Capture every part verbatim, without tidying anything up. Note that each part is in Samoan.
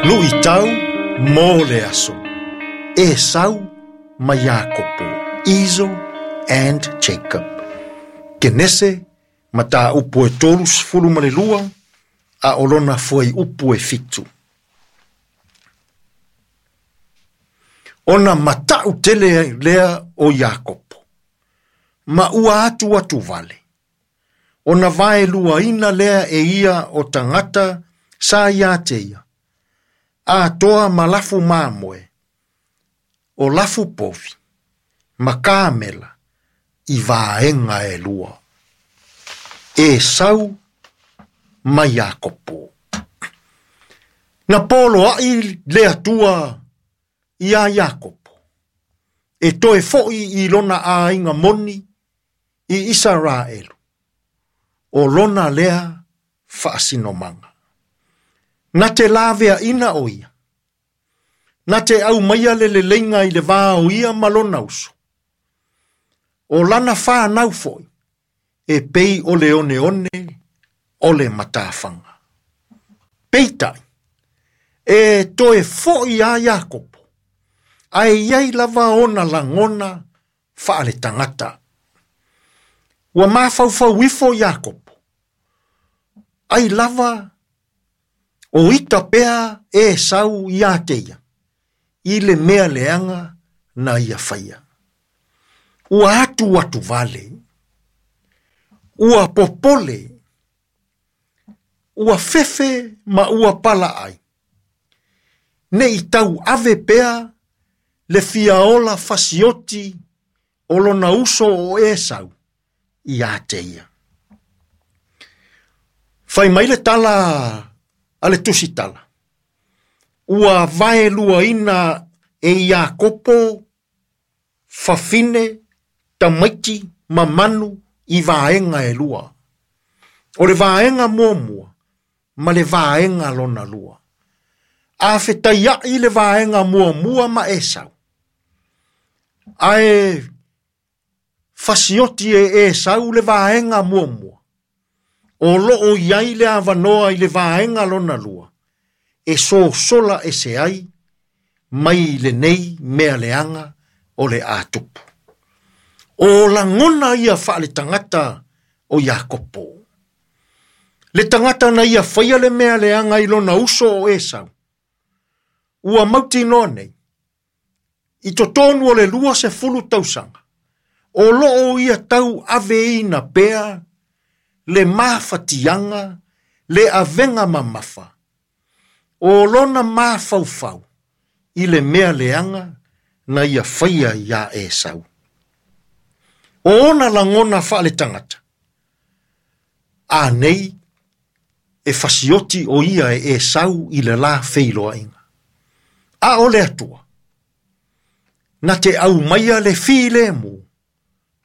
Luʻitau mo le aso. Esau ma Iakopo, Esau and Jacob. Kenese mataupu e tolu sefulu ma le lua a o lona fuaiupu e fitu. Ona mataʻu tele lea o Iakopo, ma ua atu atu vale. Ona vaeluaina lea e ia o tagata sa ia te ia, atoa ma lafu mamoe, o lafu povi, ma kamela, i vaega e lua. Esau ma Iakopo. Na poloaʻi le Atua iā Iakopo, e toe foʻi i lona aiga moni i Isaraelu, o lona lea faasinomaga. Na te laveaʻina o ia, na te aumaia le leleiga i le vā o ia ma lona uso. O lana whānau foʻi, e pei o le oneone o le matafaga. Peitai, e toe foʻi a Iakopo, ae iai lava ona lagona faaletagata. Ua mafaufau ifo Iakopo, ai lava o ita pea Esau ia te ia, i le mea leaga na ia faia. Ua atu atu vale, ua popole, ua fefe ma ua palaai. Ne i tau ave pea le fiaola fasioti o lona uso o Esau ia te ia. Fai mai le tala a le tusitala. Ua vaeluaina e Iakopo fafine, tamaiti, ma manu i vaega e lua. O le vaega muamua ma le vaega lona lua. A fetaiaʻi le vaega muamua ma Esau. Ae fasioti e Esau le vaega muamua. O loo iai le avanoa i le vaega lona lua. E sosola e se ai mai lenei mea leaga o le atupu. O lagona ia faaletagata o Iakopo. Le tagata na ia faia le mea leaga i lona uso o Esau. Ua mautinoa nei, i totonu o le lua sefulu tausaga, o loo ia tau aveina pea le mafatiaga, le avega mamafa, o lona mafaufau i le mea leaga na ia faia iā Esau. O ona lagona faaletagata, a nei e fasioti o ia e Esau i le la feiloaiga. A o le Atua, na te aumaia le filemu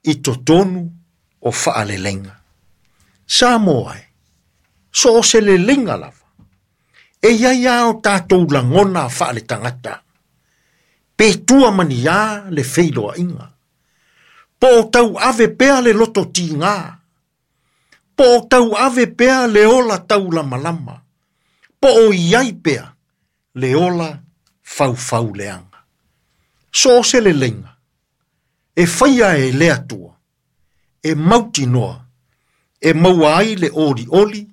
i totonu o faaleleiga. Samoa e, so o se leleiga lava, e iai a o tatou lagona faaletagata, pe tua mani le feiloaiga, po o tau ave pea le loto tigā, po o tau ave pea le ola taulamalama, po o iai pea le ola faufau leaga. So o se leleiga, e faia e le Atua, e mautinoa, e maua ai le olioli,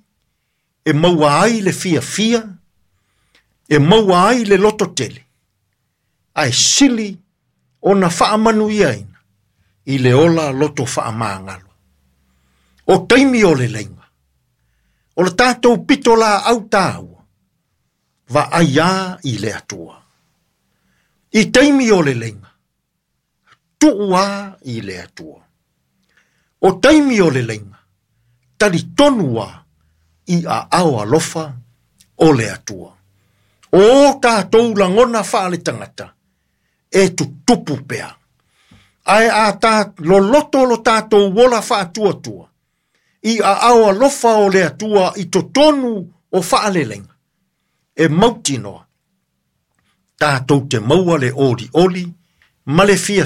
e maua ai le fiafia, e maua ai le loto tele, ae sili ona faamanuiaina i le ola loto faamagalo. O taimi o le leiga, o le tatou pito laau tāua, vaai a i le Atua. I taimi o le leiga, tuu a i le Atua. O taimi o le leiga, talitonu a i aao alofa o le Atua. O tatou lagona faaletagata, e tutupu pea. Ae a ta loloto lo tatou ola faatuatua, i aao alofa o le Atua i totonu o faaleleiga, e mautinoa, tatou te maua le olioli ma le fiafia.